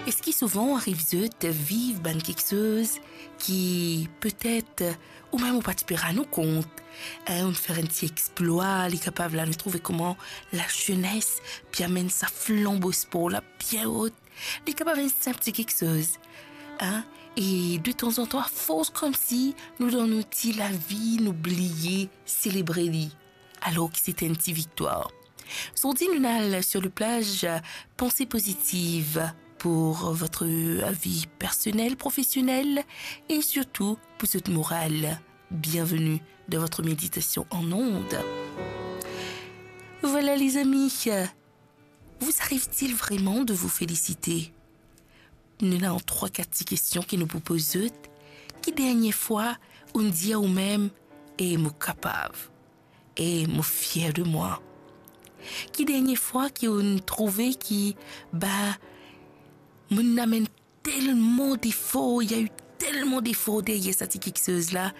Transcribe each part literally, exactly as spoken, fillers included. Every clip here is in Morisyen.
Eski souvan ariv zot viv bann kiksoz ki petet ou mem ou pa ti pe rann ou kont, hein, ou'nn fer enn ti explwa, li kapav la nou trouve kouma lazenes pe amenn sa flanbo spor la bien ot, li kapav enn sinp ti kiksoz, hein, e detanzantan, afors koumsi nou dan nou ti lavi, nou bliye selebre li, alor ki se ti enn ti viktwar. Zordi, nou al sur le plage, euh, pensée positive pour votre, euh, vie personnelle, professionnelle et surtout pour votre morale. Bienvenue dans votre méditation en ondes. Voilà, les amis, euh, vous arrive-t-il vraiment de vous féliciter ? Nou ena trwa, kat ti kestion ki nou pou poz zot. Ki dernie fwa ou'nn dir ou mem, "E mo kapav, e mo fier de mwa"? Ki dernie fwa ki ou'nn trouve ki, ba, mo'nn amenn telman defor, il y a eu telman defor deryer sa ti kiksoz la,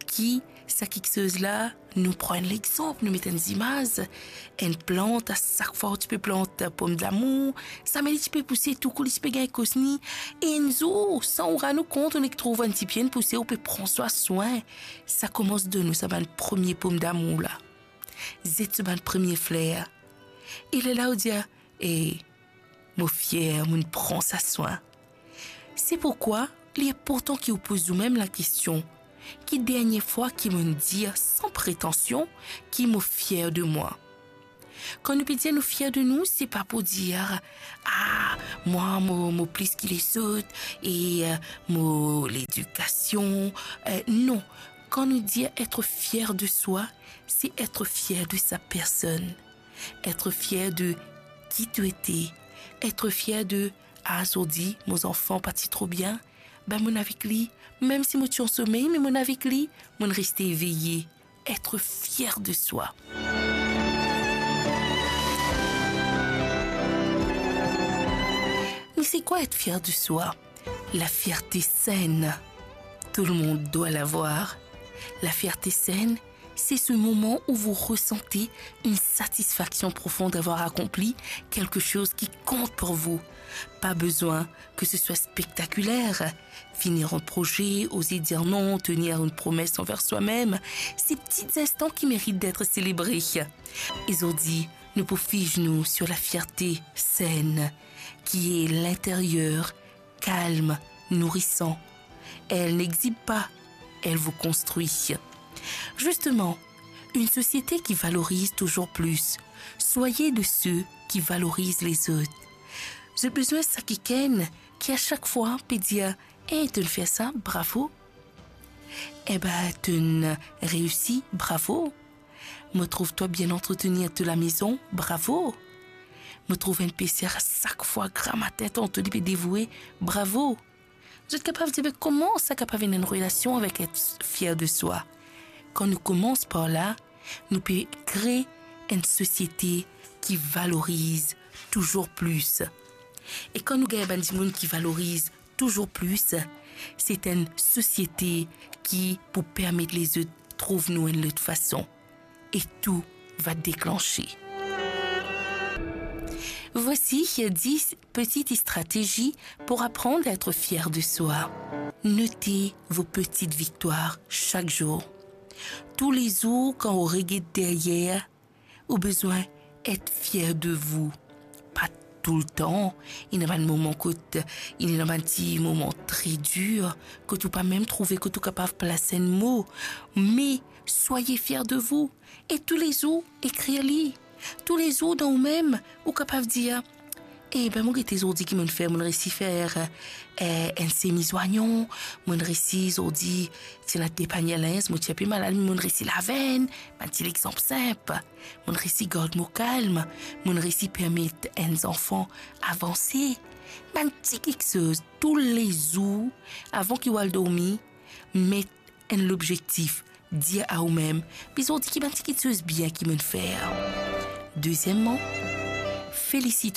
ki sa kiksoz la, nou pran enn lexanp, nou met enn zimaz, enn plant, a sak fwa ou ti pe plant pomdamour, zame li ti pe pouse, tou kou li ti pe gagn kosni, e enn zour, san ou rann ou kont, ou nek trouv enn ti pie inn pouse, ou pe pran swa swin, sa koumans donn ou sa bann premie pomdamour la, zet so bann premie fler. E lerla ou dir, "E, mo fier, mo'nn pran sa swin." Se pourkwa li inportan ki ou poz ou mem lakestion, ki dernie fwa ki mo'nn dir san pretansion ki mo fier de mwa? Kan nou pe dir nou fier de nou, se pa pou dir, "Ah, mwa, mo, mo plis ki lezot, e, euh, mo ledikasion." Euh, non. Kan nou dir être fier de soi, c'est être fier de sa personne. Être fier de qui tu étais. Être fier de, "Ah, zordi, mo zanfan pa ti tro bien. Ben, mo'nn avek li. Mem si mo ti an somey, me mo'nn avek li, mo'nn reste eveye." Être fier de soi. Mais c'est quoi être fier de soi ? La fierté saine. Tout le monde doit l'avoir. La fierté saine, c'est ce moment où vous ressentez une satisfaction profonde d'avoir accompli quelque chose qui compte pour vous. Pas besoin que ce soit spectaculaire. Finir un projet, oser dire non, tenir une promesse envers soi-même, ces petits instants qui méritent d'être célébrés. E zordi, nou pou fiz nou sur la fierté saine, qui est l'intérieur, calme, nourrissant. Elle n'exhibe pas, elle vous construit. Justement, une société qui valorise toujours plus. Soyez de ceux qui valorisent les autres. Zot bizin sa kikenn ki a sak fwa pe dir, "Eh, to'nn fer sa, bravo. Eh ben, to'nn reisi, bravo. Mo trouv twa bien antretenir to lamezon, bravo. Mo trouv enn peser a sak fwa gramatin tanto li pe devoue, bravo." Zot kapav dir, be, kouma sa kapav ena enn relasion avek et fier de soi? Kan nou koumans par la, nou pe kre enn sosiete ki valoriz touzour plis. E kan nou gagn bann dimoun ki valoriz touzour plis, se enn sosiete ki pou permet lezot trouv nou enn lot fason. Et tout va déclencher. Voici dix petites stratégies pour apprendre à être fier de soi. Notez vos petites victoires chaque jour. Toulezour, kan ou reget deryer, ou bizin et fier de vous. Pa toultan, ena bann moman kot, ena bann ti moman tre dir, kot ou pa mem trouve kot ou kapav plas enn mo. Me soyez fier de vous. E toulezour, ekrir li. Toulezour dan ou mem, ou kapav dir, "Eh ben, mo gete zordi ki mo'nn fer, mo'nn resi fer, eh, enn semi zoignon, mo'nn resi zordi, ti ena de panie linz, mo ti inpe malad, me mo'nn resi lav enn." Bann ti lexanp sinp. Mo'nn resi gard mo kalm, mo'nn resi permet enn zanfan avanse. Bann ti kiksoz, toulezour, avan ki ou al dormi, met enn lobzektif, dir a ou mem, "Be zordi ki bann ti kiksoz bien ki mo'nn fer." Dezieman, félicite